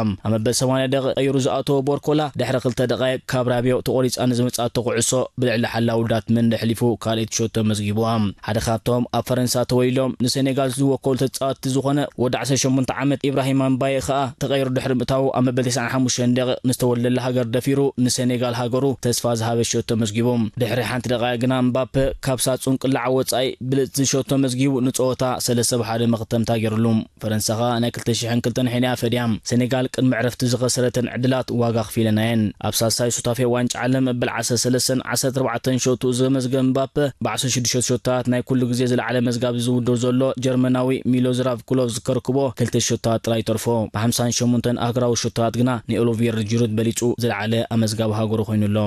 ኣብ መበል ሰማንያ ደቂቕ ቀይሩ ዝኣተወ ቦርኮላ፣ ድሕሪ ክልተ ደቓይቕ ካብ ራቢዮ ተቖሪጻ ንዝመጽኣቶ ኩዕሶ ብልዕሊ ሓላዊ ዳትመንድ ኣሕሊፉ ካልኣይቲ ሸቶ መዝጊብዋ። ሓደ ካብቶም ኣብ ፈረንሳ ተወሊዶም ንሴኔጋል ዝወከሉ ተጻወትቲ ዝኾነ ወዲ ዓሰርተ ሸሞንተ ዓመት ኢብራሂም ኣምባየ ከኣ ተቐይሩ ድሕሪ ምእታዉ፣ ኣብ መበል ተስዓን ሓሙሽተን ደቂቕ ንዝተወልደላ ሃገር ደፊሩ ንሴኔጋል ሃገሩ ተስፋ ዝሃበ ሸቶ መዝጊቡ። ድሕሪ ሓንቲ ደቓይቕ ግና እምባፔ ካብ ሳጹን ቅላዕ ወጻኢ ብልጽቲ ሸቶ መዝጊቡ ንጸወታ ሰለስተ ብ ሓደ መኽተምታ ገይሩሉ። ፈረንሳ ከኣ ናይ ክልተ ሽሕን ክልተን ሕንያ ፈድያ። ሴኔጋል ቅድሚ ዕረፍቲ ዝኸሰረተን ዕድላት ዋጋ ኣኽፊለናየን። ኣብ ሳልሳይ ሱታፌ ዋንጫ ዓለም መበል ዓሰርተ ሰለስተን ዓሰርተ ኣርባዕተን ሸቱ ዘመዝገበ እምባፔ፣ ብ ዓሰርተ ሽዱሽተ ሸቶታት ናይ ኩሉ ግዜ ዝለዓለ መዝጋቢ እዚ ውድድር ዘሎ ጀርመናዊ ሚሎዝራቭ ክሎዝ ከርክቦ ክልተ ሸቶታት ጥራይ ይተርፎ። ብ ሓምሳን ሸሞንተን ኣህጉራዊ ሸቶታት ግና ንኦሊቪየር ጂሩድ በሊጹ ዝለዓለ ኣመዝጋቢ ሃገሩ ኮይኑ ኣሎ።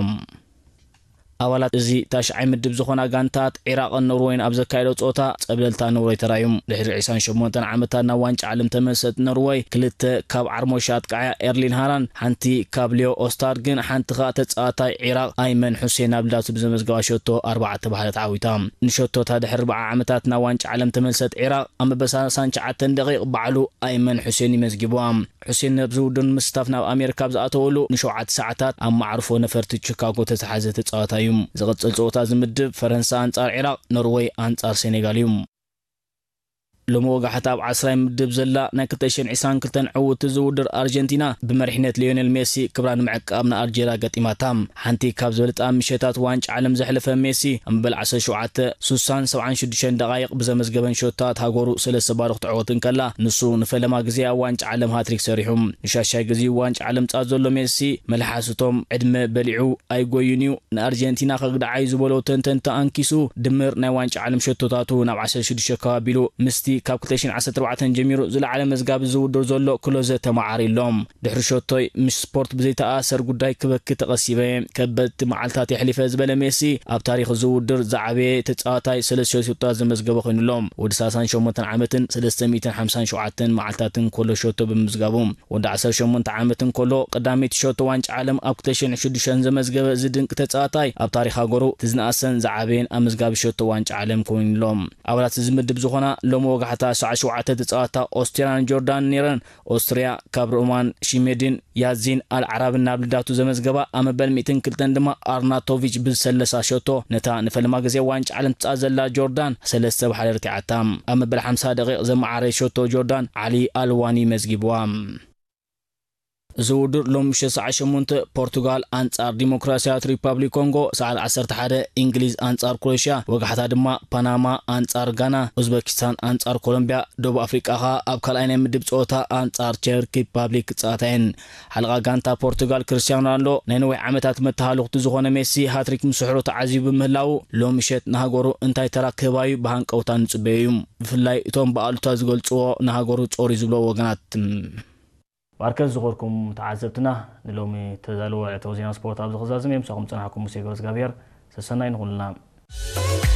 ኣባላት እዚ ታሽዓይ ምድብ ዝኾና ጋንታት ዒራቕን ኖርወይን ኣብ ዘካየዶ ጸወታ ጸብለልታ ኖርወይ ተራእዩ። ድሕሪ ዕስራን ሸሞንተን ዓመታት ናብ ዋንጫ ዓለም ተመልሰት ኖርወይ፣ ክልተ ካብ ዓርሞሻ ኣጥቃዕያ ኤርሊን ሃላንድ፣ ሓንቲ ካብ ሊዮ ኦስታርግን ሓንቲ ከኣ ተጻዋታይ ዒራቕ ኣይመን ሑሴን ኣብ ልዳቱ ብዘመዝገባ ሸቶ ኣርባዕተ ብ ሓደ ተዓዊታ። ንሸቶታ ድሕሪ ኣርብዓ ዓመታት ናብ ዋንጫ ዓለም ተመልሰት ዒራቕ፣ ኣብ መበል ሰላሳን ትሽዓተን ደቂቕ ባዕሉ ኣይመን ሑሴን እዩ መዝጊብዋ። ሑሴን ነብዚ ውድድር ንምስታፍ ናብ ኣሜሪካ ኣብ ዝኣተወሉ ንሸውዓተ ሰዓታት ኣብ መዓርፎ ነፈርቲ ቺካጎ ተተሓዘ ተጻዋታይ እዩ። ዝቕጽል ጸወታ እዚ ምድብ ፈረንሳ ኣንጻር ዒራቕ፣ ኖርወይ ኣንጻር ሴኔጋል እዩ። ሎሚ ወጋሕታ ኣብ ዓስራይ ምድብ ዘላ ናይ ክልተ ሽሕን ዕስራን ክልተን ዕውትቲ ዝውድር ኣርጀንቲና ብመሪሕነት ሊዮኔል ሜሲ ክብራ ንምዕቃብ ንኣልጄርያ ገጢማታ። ሓንቲ ካብ ዝበለጣ ምሸታት ዋንጫ ዓለም ዘሕለፈ ሜሲ፣ ኣብ መበል ዓሰርተ ሸውዓተ፣ ስሳን ሰብዓን ሽዱሽተን ደቓይቕ ብዘመዝገበን ሸቶታት ሃገሩ ሰለስተ ባዶ ክትዕወት እንከላ፣ ንሱ ንፈለማ ግዜ ኣብ ዋንጫ ዓለም ሃትሪክ ሰሪሑ። ንሻሻይ ግዜኡ ዋንጫ ዓለም ጻት ዘሎ ሜሲ፣ መልሓስ እቶም ዕድመ በሊዑ ኣይጎዩን እዩ፣ ንኣርጀንቲና ከግድዓ እዩ ዝበሎ ተንተንቲ ኣንኪሱ፣ ድምር ናይ ዋንጫ ዓለም ሸቶታቱ ናብ ዓሰርተ ሽዱሽተ ከባቢሉ፣ ምስቲ ካብ ክልተ ሽሕን ዓሰርተ ኣርባዕተን ጀሚሩ ዝለዓለ መዝጋቢ ዝውድር ዘሎ ክሎዘ ተመዓሪሎም። ድሕሪ ሸቶይ ምስ ስፖርት ብዘይተኣሳሰር ጉዳይ ክበኪ ተቐሲበ፣ ከበድቲ መዓልታት የሕሊፈ ዝበለ ሜሲ፣ ኣብ ታሪኽ እዚ ውድድር ዝዓበየ ተጻዋታይ ሰለስተ ሸቶታት ዘመዝገበ ኮይኑ ኣሎ። ወዲ ሰላሳን ሸሞንተን ዓመትን ሰለስተ ሚእትን ሓምሳን ሸውዓተን መዓልታትን ኮሎ ሸቶ ብምምዝጋቡ፣ ወዲ ዓሰርተ ሸሞንተ ዓመት እንከሎ ቀዳመይቲ ሸቶ ዋንጫ ዓለም ኣብ ክልተ ሽሕን ሽዱሽተን ዘመዝገበ እዚ ድንቂ ተጻዋታይ፣ ኣብ ታሪኽ ሃገሩ እቲ ዝነኣሰን ዝዓበየን ኣመዝጋቢ ሸቶ ዋንጫ ዓለም ኮይኑ ኣሎ። ኣባላት እዚ ምድብ ዝኾና ሎሚ ወጋሕታ ሰዓት ሸውዓተ ተጻዋታ ኦስትሪያን ጆርዳን ነይረን። ኦስትርያ ካብ ሮማን ሺሜድን ያዚን ኣልዓራብን ናብ ልዳቱ ዘመዝገባ፣ ኣብ መበል ሚእትን ክልተን ድማ ኣርናቶቪች ብዝሰለሳ ሸቶ ነታ ንፈለማ ግዜ ዋንጫ ዓለም ትጻወት ዘላ ጆርዳን ሰለስተ ብ ሓደ ረቲዓታ። ኣብ መበል ሓምሳ ደቂቕ ዘመዓረየ ሸቶ ጆርዳን ዓሊ ኣልዋኒ መዝጊብዋ። እዚ ውድድር ሎም ምሸት ሰዓት ሸሞንተ ፖርቱጋል ኣንጻር ዲሞክራሲያዊት ሪፓብሊክ ኮንጎ፣ ሰዓት ዓሰርተ ሓደ እንግሊዝ ኣንጻር ክሮኤሽያ፣ ወጋሕታ ድማ ፓናማ ኣንጻር ጋና፣ ኡዝበኪስታን ኣንጻር ኮሎምቢያ፣ ደቡብ ኣፍሪቃ ከኣ ኣብ ካልኣይ ናይ ምድብ ጸወታ ኣንጻር ቸክ ሪፓብሊክ ክጻወታ እየን። ሓለቓ ጋንታ ፖርቱጋል ክርስቲያኖ ሮናልዶ ናይ ነዊሕ ዓመታት መተሃልኽቱ ዝኾነ ሜሲ ሃትሪክ ምስሕሩ ተዓዚቡ ብምህላዉ፣ ሎም ምሸት ንሃገሩ እንታይ ተራ ክህባዩ ብሃንቀውታ ንጽበዮ እዩ። ብፍላይ እቶም ብኣሉታ ዝገልጽዎ ንሃገሩ ጾር እዩ ዝብልዎ ወገናት። ማርከስ ዝኾርኩም ተዓዘብትና፣ ንሎሚ ተዳለወ ዕለታዊ ዜና ስፖርት ኣብዚ ክዛዝም እዮም። ምሳኹም ዝጸናሕኩም ሙሴ ገብረእግዚኣብሔር። ሰሰናይ ንኹልና።